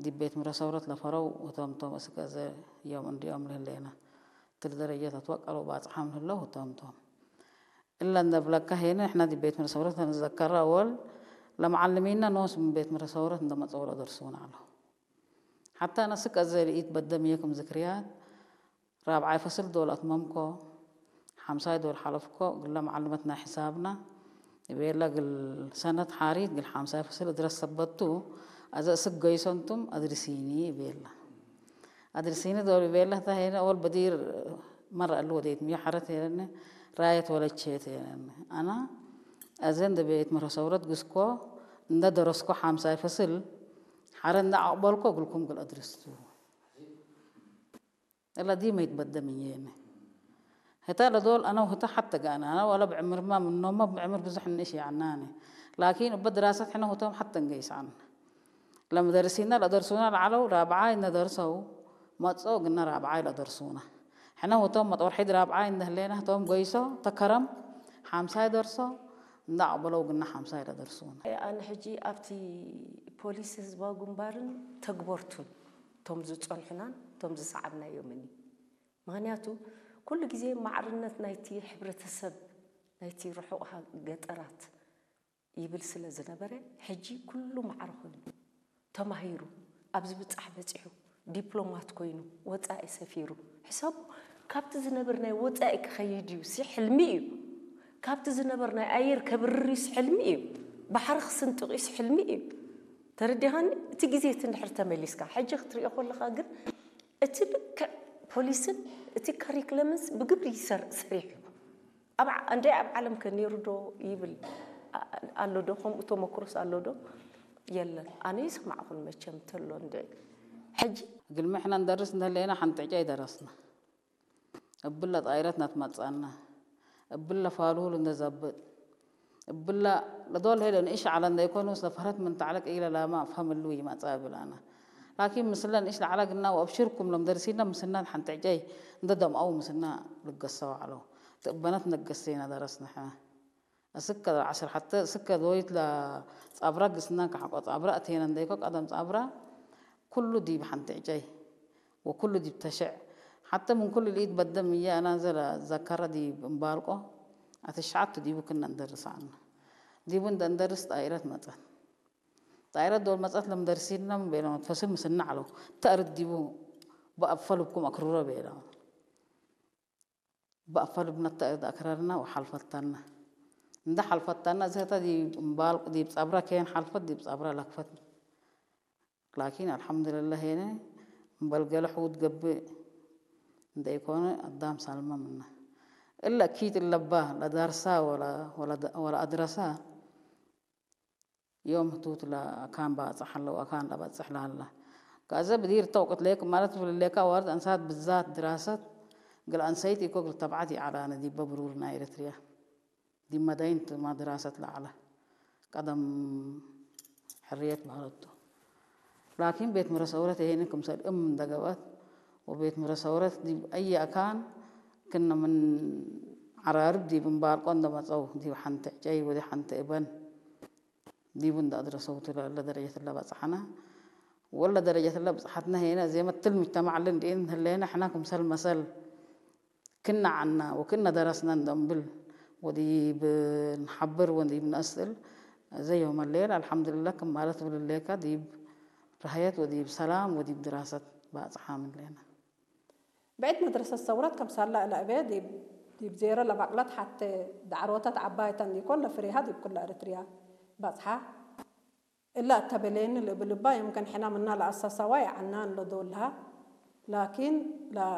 ዲብ ቤት ምረ ሰውረት ለፈረው ህቶም ቶም እስከ ዘ ዮም እንዲኦም ለህሌና። ትል ደረጀት ኣትወቀለው ባጽሓም ለህለው ህቶም ቶም። እለ እንደ ብለካ ሄነ ንሕና ዲብ ቤት ምረ ሰውረት ንዘከራ ወል ለመዓልሚና ኖስ ምን ቤት ምረ ሰውረት እንደ መጸው ለደርሱና ኣለዉ። ሓታ ነስክ ኣዘ ልኢት በደም የክም ዝክርያት ራብዓይ ፈስል ዶል ኣትመምኮ፣ ሓምሳይ ዶል ሓለፍኮ፣ ግለ መዓልመት ናይ ሕሳብና፣ እቤላ ግል ሰነት ሓሪት፣ ግል ሓምሳይ ፈስል እድረስ ሰበቱ፣ ኣዘ እስክ ገይሶንቱም ኣድርሲኒ እቤላ። ኣድርሲኒ ዶል እቤላ ታ ሄነ ኦል በዲር መራ እሉ ወዴት ምዮ ሓረት ሄነ ራየት ወለቼት ሄነ። ኣና ኣዘ እንደ ቤት ምረ ሰውረት ግስኮ፣ እንደ ደረስኮ ሓምሳይ ፈስል፣ ሓረ እንደ ኣቕበልኮ ግልኩም ግል ኣድርስቱ። እላ ዲመ ይትበደም እየነ። ህታ ለዶል ኣነ ውህታ ሓተ ጋነ፣ ኣነ ወላ ብዕምርማ ምኖማ ብዕምር ብዙሕ ንእሽ ያዕናነ። ላኪን እበ ድራሰት ሕነ ውህቶም ሓተ እንገይሳን። ለምደርሲና ለደርሱና ለዓለው ራብዓይ እነደርሰው፣ መጾ ግና ራብዓይ ለደርሱና። ሕነ ውህቶም መጦርሒድ ራብዓይ እንደህሌና ህቶም ገይሶ፣ ተከረም፣ ሓምሳይ ደርሶ፣ እንዳ ኣቕበለው ግና ሓምሳይ ለደርሱና። ኣነ ሕጂ ኣብቲ ፖሊስ ህዝባዊ ግንባርን ተግበርቱን እቶም ዝጸንሑናን እቶም ዝሰዓብናዮምን እዩ። ምኽንያቱ ኩሉ ግዜ ማዕርነት ናይቲ ሕብረተሰብ ናይቲ ርሑቕ ሃ- ገጠራት ይብል ስለ ዝነበረ ሕጂ ኩሉ ማዕረ ኮይኑ ተማሂሩ ኣብዚ ብጻሕ በጺሑ ዲፕሎማት ኮይኑ ወጻኢ ሰፊሩ ሕሰቡ ካብቲ ዝነብር ናይ ወጻኢ ክኸይድ እዩ ሲ ሕልሚ እዩ ካብቲ ዝነብር ናይ ኣየር ከብርር እዩስ ሕልሚ እዩ ባሕሪ ክስንጥቕ እዩስ ሕልሚ እዩ ተረዲኻኒ እቲ ግዜ እቲ እንድሕር ተመሊስካ ሕጂ ክትሪኦ ከለኻ ግን እቲ ልክዕ ፖሊስን እቲ ካሪክለምንስ ብግብሪ ይሰር- ሰሪሑ ኣብ ዓ- እንደ ኣብ ዓለም ከ ነይሩ ዶ ይብል ኣ- ኣሎ ዶ ከምኡ ተመክሮስ ኣሎ ዶ የለን ኣነ ይሰማዕኹን መቸም ተሎ እንደ ሕጂ ግልሚ ሕና እንደርስ እንደለየና ሓንቲ ዕጫ ይደረስና እብለ ጣይረት ናትመጻና እብለ ፋሉል እንደዘብጥ እብላ ለዶል ሄደ ንእሽ ዓላ እንዳይኮኑ ስለፈረት ምን ተዓለቅ ኢለ ላማ ፈምሉ ይመጻ ብላና ላኪን ምስለ ንእሽ ለዓላ ግና ወኣብሽርኩም ሎም ደርሲና ምስና ሓንተ ዕጨይ እንደ ደምኣው ምስና ልገሰው ዓለው ትእበነት ነገሰና ደረስና ሕና እስከ ዓስር ሓተ እስከ ዶይት ላ ጻብራ ግስና ከሓቆ ጻብራ እቴና እንዳይኮ ቀደም ጻብራ ኩሉ ዲብ ሓንቲ ዕጨይ ወኩሉ ዲብ ተሸዕ ሓተ ምን ኩሉ ልኢት በደም እያ ኣና ዘላ ዘከረ ዲብ እምባልቆ ኣትሽዓቱ ዲቡ ክና እንደርሳና ዲቡ እንደ እንደርስ ጣይረት መጸት ጣይረት ዶል መጸት ለምደርሲና ቤሎም ፈስል ምስና ዓለው ተእርድ ዲቡ ብኣብ ፈልብኩም ኣክርሮ ቤሎም ብኣብ ፈልብና ተእርድ ኣክረርና ወሓልፈታና እንደ ሓልፈታና ዘህተ ዲብ እምባልቆ ዲብ ጸብራ ከየን ሓልፈት ዲብ ጸብራ ለክፈት ላኪን ኣልሓምዱልላህ ሄነ እምበል ገለ ሕውት ገብእ እንደይኮነ ኣዳም ሳልማ ምና እለ ኪት እለባ ለዳርሳ ወላ ኣድረሳ ዮም ህቱት ለኣካን ባጽሕ ኣለዉ ኣካን ለበጽሕ ለሃላ ከዘ ብዲር ተውቅት ሌክ ማለት ፍልሌካ ዋርድ ኣንሳት ብዛት ድራሰት ግል ኣንሰይት ኢኮ ግል ተብዓት ይዓላነ ዲበ ብሩር ናይ ኤርትርያ ዲብ መዳይንት ማድራሰት ለዓለ ቀደም ሕርየት ባህለቱ ላኪን ቤት ምረ ሰውረት ይሄንን ክምሰል እም እንደገባት ወቤት ምረ ሰውረት ዲብ ኣየ ኣካን ክነ ምን ዓራርብ ዲብ እምባልቆ እንደመጸው ዲብ ሓንቲ ዕጨይ ወዲ ሓንቲ እበን ዲቡ እንደ ኣድረሰውቱ ለደረጀት ለበጽሓና ወለ ደረጀት ለብጽሓትና ሄነ ዜመትል ምጅተማዕ ልንድኢን ህሌነ ሕና ክምሰል መሰል ክና ዓና ወክና ደረስና እንደንብል ወዲብ ንሓብር ወዲብ ነስእል ዘ ዮም ሌል ኣልሓምዱልላህ ክም ማለት ብልሌካ ዲብ ራህየት ወዲብ ሰላም ወዲብ ድራሰት ባጽሓ ምንሌና። بعد مدرسة الثورات كم صار لها لعبة دي دي بزيرة لبقلت حتى دعروتات عباية تنيكون لفريها دي بكل أريتريا بصحة إلا تبلين اللي بلبا يمكن حنا منا لأساسا واي عنان لدولها لكن لا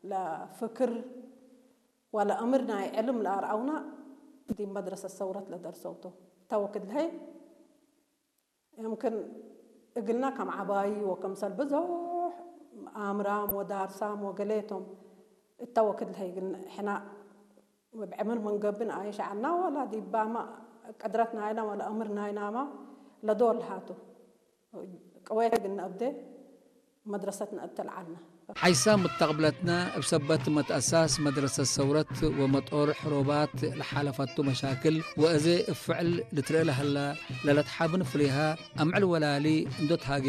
لا فكر ولا أمرنا علم لا رأونا دي مدرسة الثورات لدرسوتو توكد لهي يمكن እግልና ከም ዓባይ ወከምሰል ብዙሕ ኣምራም ወዳርሳም ወገሌቶም እተወክድ ለሀይ ግን ሕና ብዕምር መንገብን ኣይሸዓልና ወላ ዲባማ ቅድረት ናይና ወላ እምር ናይናማ ለዶል ሃቱ ቅወየት ግን ኣብደ መድረሰትና እተልዓልና ሓይሳ ምተቕብለትና እብ ሰበት መትአሳስ መድረሰት ሰውረት ወመጦርሕ ሮባት ለሓለፈቱ መሻክል ወእዜ እብ ፍዕል ልትርእ ለሀላ ለለትሓብን ፍሬሃ አምዕል ወላሊ እንዶ ተሃጌ